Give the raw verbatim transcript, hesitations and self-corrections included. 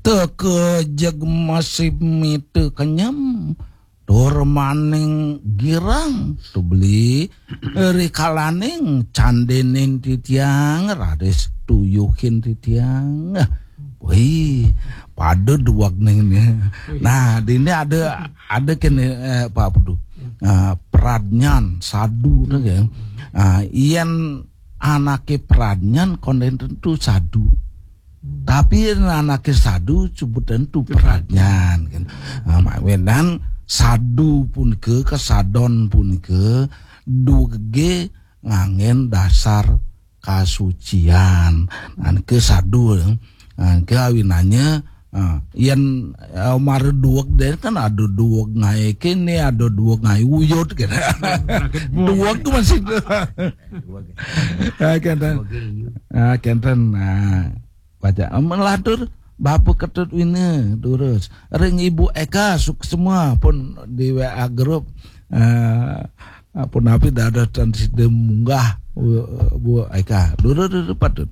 Teka jeg masih mita kenyem, tur maning girang, tebeli rikalaning candening titiang, raris tuyuhin titiang. Wih, pada duweg ning ni. Nah, dini ada, ada kene, eh, Pak Putu. Ah, pradnyan, sadu, nah, ya. Ah, yen anake pradnyan konden tentu sadu. Tapi yen anake sadu sebut tentu pradnyan, kan. Ah, mawinan sadu punika, kesadon punika, duwege nganggen dasar kasucian. Nah, ke sadu, nah, ke awinannya, ah, yen, eh, mara duweg deh kan ada duweg ngae kene, ada duweg ngae uyut, gitu. Duweg tuh masih. Ah, kenten. Ah, kenten. Ah, baca. Melatur Bapak Ketut Wina, terus. Ring Ibu Eka, suk semua pun di W A grup. Eh, pun napi dados tan sida munggah, Bu, Bu Eka. Durus, durus, patut.